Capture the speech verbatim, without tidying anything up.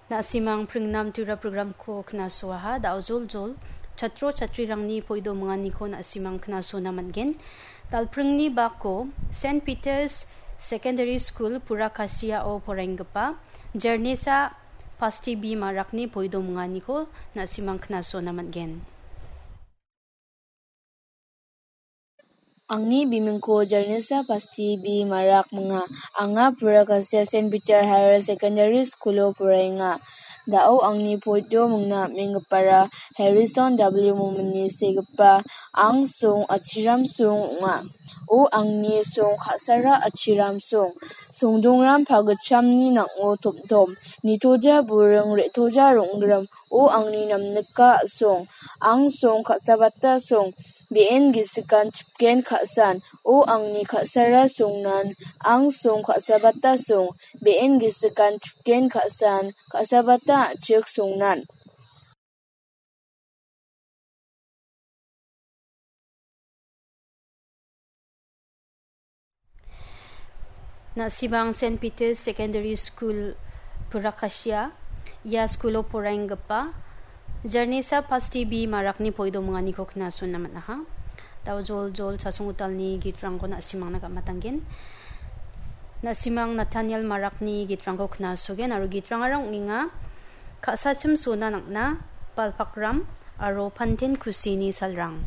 Na·simang pringnam tura programko knasoaha, da·o joljol chatro chatrirangni poido minganiko na·simang knasona man·gen. Dalpringni bako Saint Peter's Secondary School Purakasiao poraienggipa Jarnesa Pasti B Marakni poido minganiko na·simang knasona man·gen. Angni bimingko Jarnesa Pasti B Marak minga. Anga Purakasia Saint Peter Higher Secondary School-o poraenga. Da·o angni poido mingna am·enggipara Harrison W Momini segipa angsong Achiram song ong·a. O angni song ka·sara Achiram song. Songdongram pagitchamni nang·o tomtom. Nitoja buring re·toja rong·grim. O angni namnika song. Angsong ka·sabata song. Be·en gisikan chipgen ka·san. O angni ka·sara songnan. Angsong ka·sabata song. Be·en gisikan chipgen ka·san. Ka·sabata a·chik songnan. Na·simang Saint Peter's Secondary School Purakasia, ia skulo poraenggipa Jarnesa Pasti B Marakni poido minganiko knasona man·aha. Da·o joljol chasonggitalni gitrangko na·simangna gam·atanggen. Na·simang Nathaniel Marakni gitrangko knasogen aro gitrangara ong·enga, ka·sachim sona nang·na, balpakram aro panten kusini salrang.